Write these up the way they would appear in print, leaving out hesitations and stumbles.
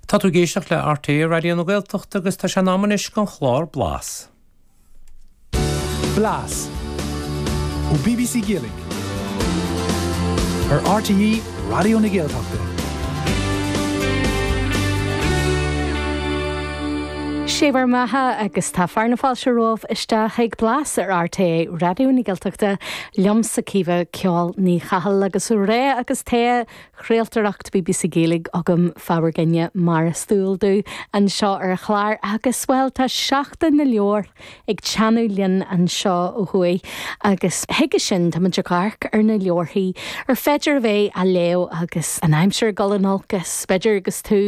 Tá tú ag éisteacht le RTÉ Raidió na Gaeltachta agus tá sé in am anois don chlár Blas. Blas ó bbc Gaeilge ar RTÉ Raidió na Gaeltachta. Sé bhur mbeatha agus tá fear na fáilte romhaibh isteach ag Blas ar RTÉ Raidió na Gaeltachta liomsa Caoimhe Ceol Ní Chathail agus rogha agus togha chraoltóireacht bbc Gaeilge agam fá bhur gcoinne mar is dual domh anseo ar an chlár agus, bhuel, tá Seachtain na Leabhar ag teannadh linn anseo ó thuaidh agus chuige sin táimid ag amharc ar na leabharthaí ar féidir a bheith á léamh agus an aimsir ag dul in olcas, b'fhéidir agus tú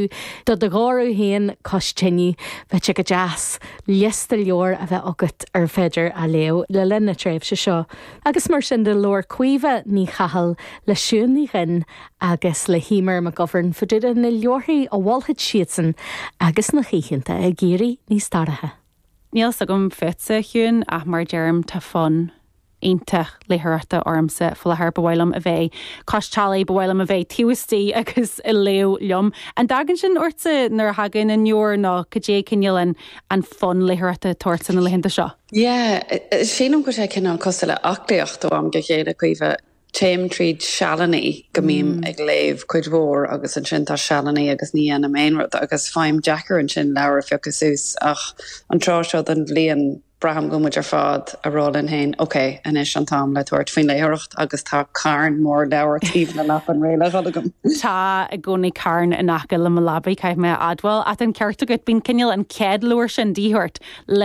do do dhórramh féin cois tine, bheadh sé go deas liosta leabhar a bheith agat ar féidir a léamh le linn na tréimhse seo. Agus mar sin de labhair Caoimhe Ní Chathail le Siún Ní Dhuinn agus le hEmer McGovern fá dtaobh de na leabharthaí a mholfadh siadsan agus na hoícheanta ag éirí níos dorcha. Níl fhios agam fútsa, a Shiún, ach mar a deirim, tá fonn iontach léitheoireachta ormsa faoi láthair. Ba mhaith liom a bheith cois teallaigh, ba mhaith liom a bheith taobh istigh agus ag léamh liom. An dtagann sin ortsa nuair a thagann an leabhar nó cad é cineál an an fonn léitheoireachta atá ortsa na laethanta seo? Yeah, sílim go bhfuil sé cineál cosúil le aclaíocht ó am go chéile, Caoimhe. Téim tríd sealannaí go mbím ag léamh cuid mhór agus ansin tá sealannaí agus ní dhéanaim aon rud agus faighim deacair ansin leabhar a phiocadh suas ach an tráth seo den bhliain braithim go bhfuil muid ar fad a rá linn féin ok, anois an t-am le tabhairt faoin léitheoireacht agus tá carn mór leabhar taobh na leapan réidh le dhul agam. Tá i gcónaí carn in aice le mo leabaidh, caithfidh mé a admháil. Ach tá an ceart agat, bíonn cineál an chéad leabhar sin de dhíth ort le.